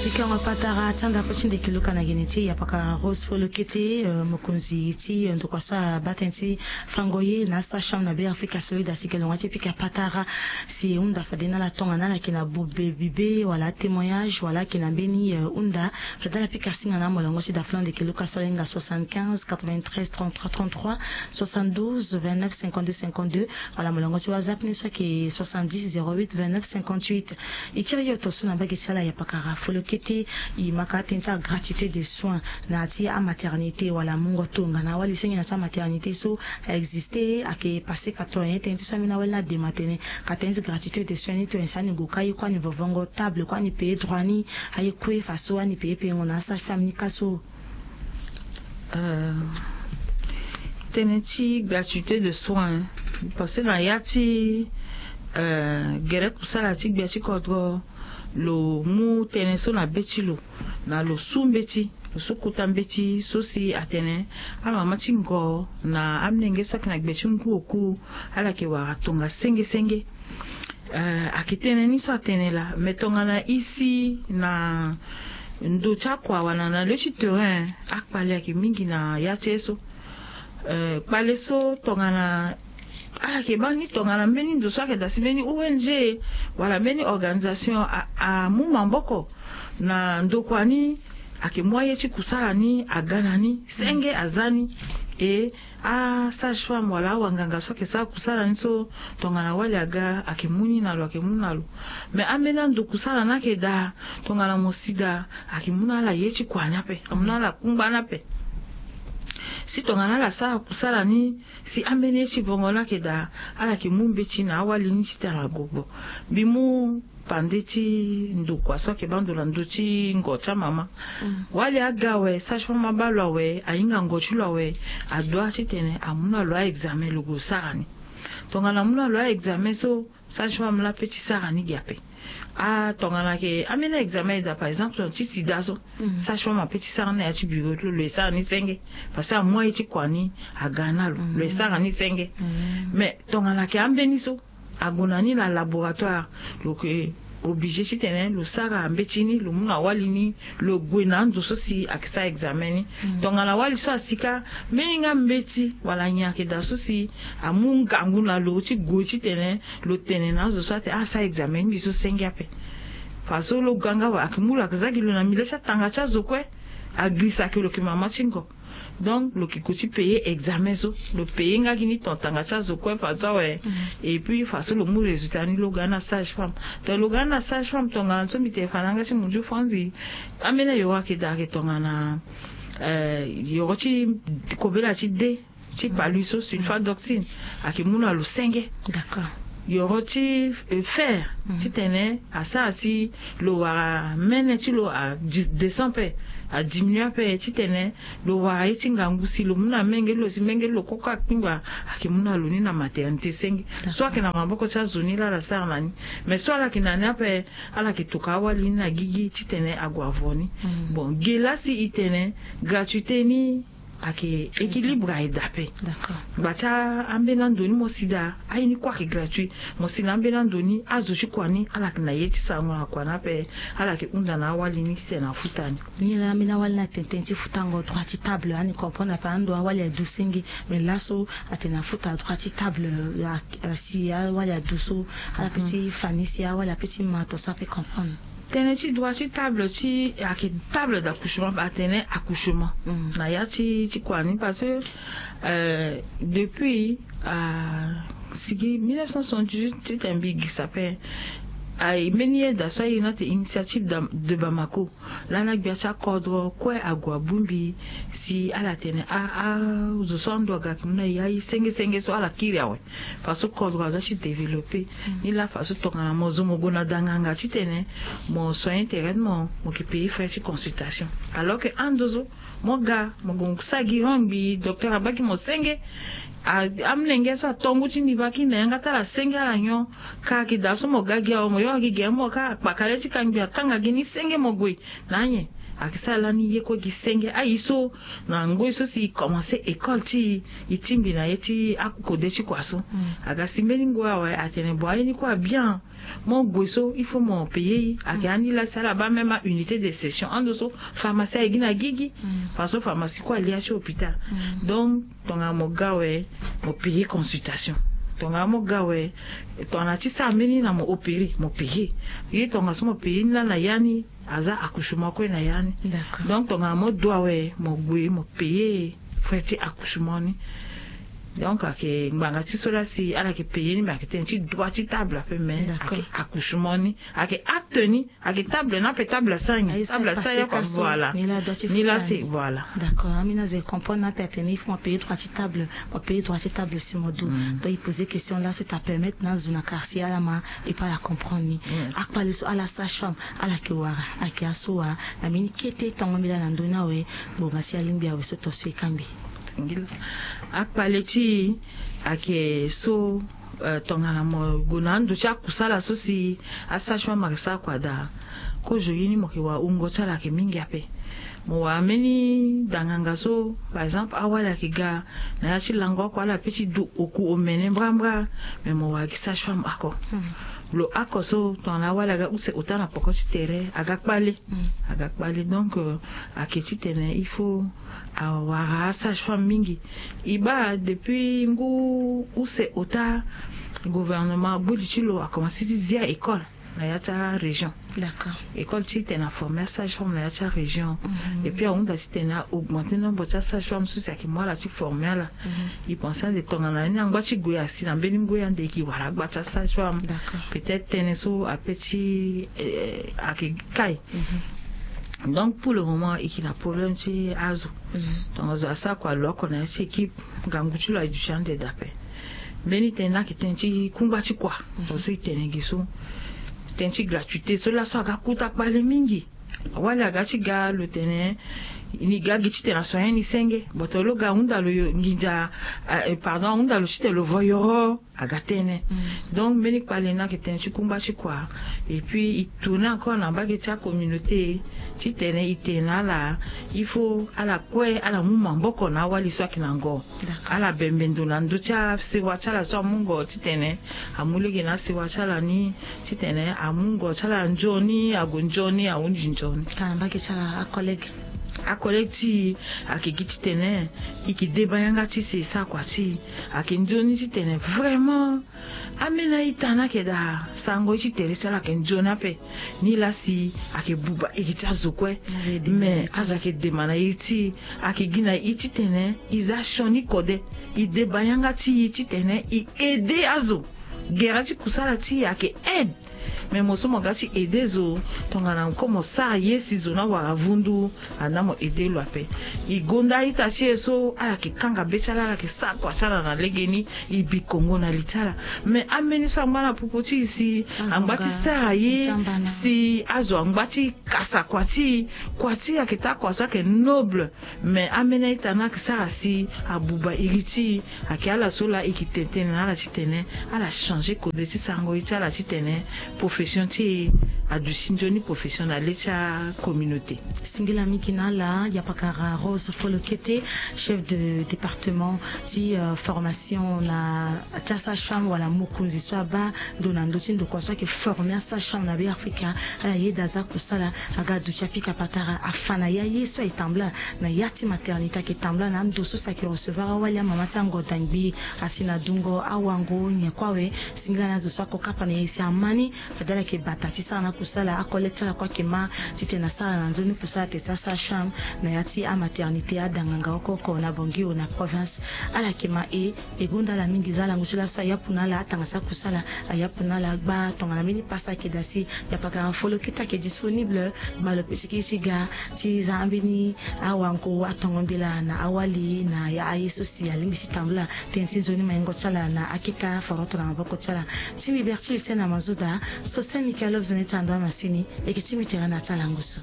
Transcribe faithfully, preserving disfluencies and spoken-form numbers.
Sikango patara ti anda pe ti ndeke luka na gene ti yapakara Rose Folokete, eh, mokonzi ti, eh, ndokua so abaa tënë ti fango ye na sage-femme na Be Afrika Solide, asi ke longua ti pika patara si e hunda fade na ala tongana ala yeke na bobe bibe wala témoignage wala ayeke na mbeni, eh, hunda, fade ala pika singa na amolongo ti da fula ndeke luka so ala hinga soixante-quinze quatre-vingt-treize trente-trois trente-trois, soixante-douze vingt-neuf cinquante-deux cinquante-deux, wala molongo ti WhatsApp ni so ayeke soixante-dix zéro huit vingt-neuf cinquante-huit. E kiri yo tongaso na mbage ti ala yapakara Folokete, e ma ka tënë ti agratuité de soins na ya ti amaternité wala mungo tongana awali senge na ya ti amaternité so a existe, ayeke passé quatre-vingts, tënë ti so ambeni awali ni adema tene ka tënë ti gratuité de soins ni tongana si ani gue ka aye kue ani vovongo table kue ani paye droit ni, aye kue faso ani paye payengo na asage-femme ni ka so. Euh, tënë ti gratuité de soins, parce que na ya ti, euh, gere kusala ti gbia ti kodro, lo mu tënë so na be ti lo, na lo su mbeti, lo su kota mbeti so si atene amama ti ngo na amolenge so ayeke na gbe ti ngu oku, ala yeke wara tonga senge senge. Eh, ayeke tënë ni so atene laa, me tongana isi na ndo ti akua wala na le ti terrain, akpale ayeke mingi na ya ti ye so. Eh, kpale so tongana ala yeke baa ni tongana mbeni ndo so ayeke daa si mbeni O N G wala mbeni organisation a, amu maboko na ndokua ni, ayeke mu aye ti kusala ni aga na ni, senge aza ni. E asage-femme wala awanganga so ayeke sara kusala ni so, tongana wali aga ayeke mu ni na lo, ayeke mu na lo. Me ambeni ando kusala ni ayeke daa, tongana mo si daa, ayeke mu na ala ye ti kua ni ape, amu na ala kungba ni ape. Si tongana ala sara kusala ni, si ambeni ye ti vongo ni ayeke daa, ala yeke mu mbeti na awali ni titene ala gogbo. Mbi mu pande ti ndokua so ayeke baa ndo na ndö ti ngo ti amama. Mm. Wali aga awe, sage-femme abaa lo awe, ahinga ngo ti lo awe, adoit titene amu na lo a-examen lo gue sara ni. Tongana amu na lo a-examen so, sage-femme laa ape ti sara ni gi ape. Ah, tongana ayeke ambeni a-examen e daa, par exemple, ti sida so, mm, sage-femme ape ti sara ni na ya ti bureau ti lo, lo e sara ni senge. Parce que amu aye ti kua ni aga na lo, lo e sara ni senge. Mm. Mais tongana ayeke ambeni so, ague na ni na laboratoire, lo yeke obligé titene lo sara mbeti ni, lo mu na wali ni, lo gue na ando so si ayeke sara examen ni. Mm. Tongana wali so asi kâ, mbeni nga mbeti wala nyen ayeke daa so si amu ngangu na lo ti gue titene lo tene na azo so atene asara examen ni mbi so senge ape. Fa so lo ga nga awe, ayeke mu lo, ayeke za gi lo na milieu ti atanga ti azo kue, agirisa ayeke lo yeke mama ti ngo. Donc lo yeke gue ti payer examen so, lo payer nga gi ni ton tanga ti azo kue fa so awe. Mm. Et puis fa so lo mu résultat ni lo ga na sage-femme. Donc lo ga na sage-femme, tongana so mbi tene fa na yanga ti munzu fanzi, ambeni ayoro ayeke daa ayeke tongana, euh, yoro ti kobela ti de ti palu so, sulfadoxine, ayeke mu na lo senge. D'accord. Yoro ti, euh, fer, mm, titene asara si lo wara mene ti lo a di-, descend ape, a diminuer ape, titene lo wara ye ti ngangu si lo mu na menge ti lo, si menge ti lo koko akpingba, ayeke mu na lo ni na maternité senge. D'accord. So ayeke na maboko ti azo ni laa ala sara na ni. Mais so ala yeke na ni ape, ala yeke toka awali ni na gigi titene ague avo ni. Mm. Bon, ge laa si e tene gratuité ni ayeke équilibre aye daa ape. D'accord. Ngba ti a-, ambeni ando ni mo si daa, aye ni kue ayeke gratuit. Mo si na ambeni ando ni, azo ti kua ni, ala yeke na ye ti sarango na kua ni ape, ala yeke hunda na awali ni titene afuta ni. Nyen laa ambeni awali ni atene tënë ti futango droit ti table, ani comprendre ape ando awali adu senge, mais laso atene afuta droit ti table, a, a, si awali adu so, ala pe ti fa ni si awali ape ti ma to so ape comprendre. Tënë ti droit ti table ti, ayeke table d'accouchement, atene accouchement. Mm. Na ya ti, ti kua ni, parce que, euh, depuis, euh, sigi mille neuf cent soixante-dix-huit titene mbi girisa ape, aye mbeni yeda so aye ni atene Initiative de, de Bamako. Lani agbia ti akodro kue ague abongbi si ala tene a, a, azo so ando aga ayeke mu na e aye senge senge so ala kiri awe. Fa so kodro aga ti développer. Mm. Ni laa fa so tongana mo zo mo gue na da nganga titene mo soigner tere ti mo, mo yeke payer frais ti consultation. Alors que ando so, mo ga, mo gue mo sara gi rang, mbi docteur abaa gi mo senge. A, amolenge so ato ngu ti niveau ti na yanga ti ala senge, ala nyon. Ka ayeke daa so mo ga gi awe, mo yoro gi gere, mo ka akpaka le ti kangbi, atanga gi ni senge, mo gue. Na anyen? Ayeke sara lani ye kue gi senge aye so na ngoi so si e komanse école ti e, e tingbi na ye ti akode ti kua so. Aga si mbeni ngoi awe atene bon aye ni kue abien. Mo gue so il faut mo payer. Ayeke ani la si ala baa même aunité de session ando so pharmacie aye gi na gigi. Parce que pharmacie kue alia ti hôpital. Donc tongana mo ga awe mo payer consultation. Tongana mo ga awe tongana ti sara mbeni na mo opérer mo payer. Ye tongana so mo payer ni laa na ya ni aza accouchement kue na ya ni. Donc tongana mo dua awe mo gue mo payer frais ti accouchement ni. Donc ayeke ngbanga ti so laa si ala yeke payer ni me ayeke tënë ti droit ti table ape me ayeke accouchement ni ayeke acte ni. Ayeke table ni ape table asara ni table asara ya kua. Voilà. Ni laa si voilà. D'accord, ambeni azo e comprendre ni ape atene il faut mo payer droit ti table. Mo payer droit ti table si mo du. Donc e poser question laa so ta permettre na azo na quartier ala ma et puis ala comprendre ni. Akpale so ala sage femme ala yeke wara ayeke aso wa na mbeni kete tongo mbela na ndö ni awe. Ngonga si alingbi awe so to so e kangbi. Akpale ti e ayeke so tongana mo gue na ando ti akusala so si asage femme ayeke sara kua daa. Kozo ye ni mo yeke wara wungo ti ala ayeke mingi ape. Mo wara mbeni danganga so par exemple awali ayeke ga na ya ti lango oko ala pe ti du oku omene mbrambra. Me mo wara gi sage femme oko. Lo oko so tongana awali aga use ota na poko ti tere aga kpale. Aga kpale donc ayeke titene il faut awara asage femme mingi. E baa depuis ngu use ota gouvernement agboli ti lo akomanse ti zia école na ya ti arégion. École titene aforme asage femme na ya ti arégion. Et puis ahunda titene a augmenter nombre ti asage femme so si ayeke mu ala ti forme ala. E pense ande tongana ni angba ti gue asi na mbeni ngoi ande e yeke wara agba ti asage femme. Peut-être tënë so ape ti ayeke kai. Donc pour le moment e yeke na problème ti azo. Tongazo asara kua lo oko na ya ti équipe ngangu ti lo aye duti ande daa ape. Mbeni tënë ni ayeke tënë ti kungba ti kua. Tongaso e tene gi so tënë ti gratuité so laso aga kuta kpale mingi. Awali aga ti ga lo tene ni ga gi titene aso aye ni senge boto lo ga ahunda lo nginza. Pardon ahunda lo titene lo vo yoro aga tënë. Donc mbeni kpale ni ayeke tënë ti kungba ti kua. Et puis e tourner encore na mbage ti acommunauté titene e tene na ala il faut ala kue ala mu maboko na awali so ayeke na ngo. Ala bembe ndo na ndö ti asewa ti ala so amu ngo titene amu lege na asewa ti ala ni titene amu ngo ti ala nzoni ague nzoni ahunzi nzoni. Ka na mbage ti ala acollègue acollègue ti e ayeke gi titene e yeke deba yanga ti si e sara kua ti e ayeke nzoni titene vraiment ambeni a-ita ni ayeke daa sarango ye ti tere ti ala ayeke nzoni ape. Ni laa si ayeke buba iri ti azo kue. Me azo ayeke dema na iri ti e ayeke gi na e titene e za sioni kode e deba yanga ti e titene e aider azo. Gere ti kusala ti e ayeke aide. Me mo so mo ga ti aider zo tongana ko mo sara ye si zo ni awara vundu. Andaa mo aider lo ape. E gonda a-ita ti e so ala yeke kanga be ti ala ala yeke sara kua ti ala na legeni. E bi kongo na li ti ala. Me ambeni so angba na popo ti e si angba ti sara ye si azo angba ti kasa kua ti e. Kua ti e ayeke taa kua so ayeke noble. Me ambeni a-ita ni ayeke sara si abuba iri ti e. Ayeke ala so laa e yeke tene tënë na ala titene ala changer kode ti sarango ye ti ala titene profession ti e aduti nzoni profession na le ti acommunauté. Singila mingi na ala yapakara Rose Folokete, chef de département ti formation na ti asage femme wala mokonzi so abaa ndo na ndö ti ndokua so ayeke former asage femme na be afrika. Ala yeda aza kusala aga aduti apika patara afa na ya ye so aye tambula na ya ti maternité ayeke tambula na ando so si ayeke recevoir awali amama ti ango dangbi asi na dungo awango nyen kue awe. Singila na azo so ako kapa na ye si ama ni fade ala yeke bata ti sara na akusala acollègue ti ala kue ayeke ma titene asara na nzoni kusala te ti asage femme na ya ti amaternité adanganga oko oko na bangui o na province. Ala yeke ma e e gonda ala mingi za lango ti laso ayapu na ala atanga ti akusala. Ayapu na ala gba tongana mbeni pasa ayeke daa si yapakara folo kete ayeke disponible. Gba lo pe siki ti ga ti za ambeni awango atongo mbela na awali na aye so si alingbi ti tambula tënë ti nzoni maingo ti ala na aketa foroto na maboko ti ala. Ti mbi berti use na mazoda so saint michael love zo na ita ndo amasini. Eke ti mbi tere na ti ala ngusu.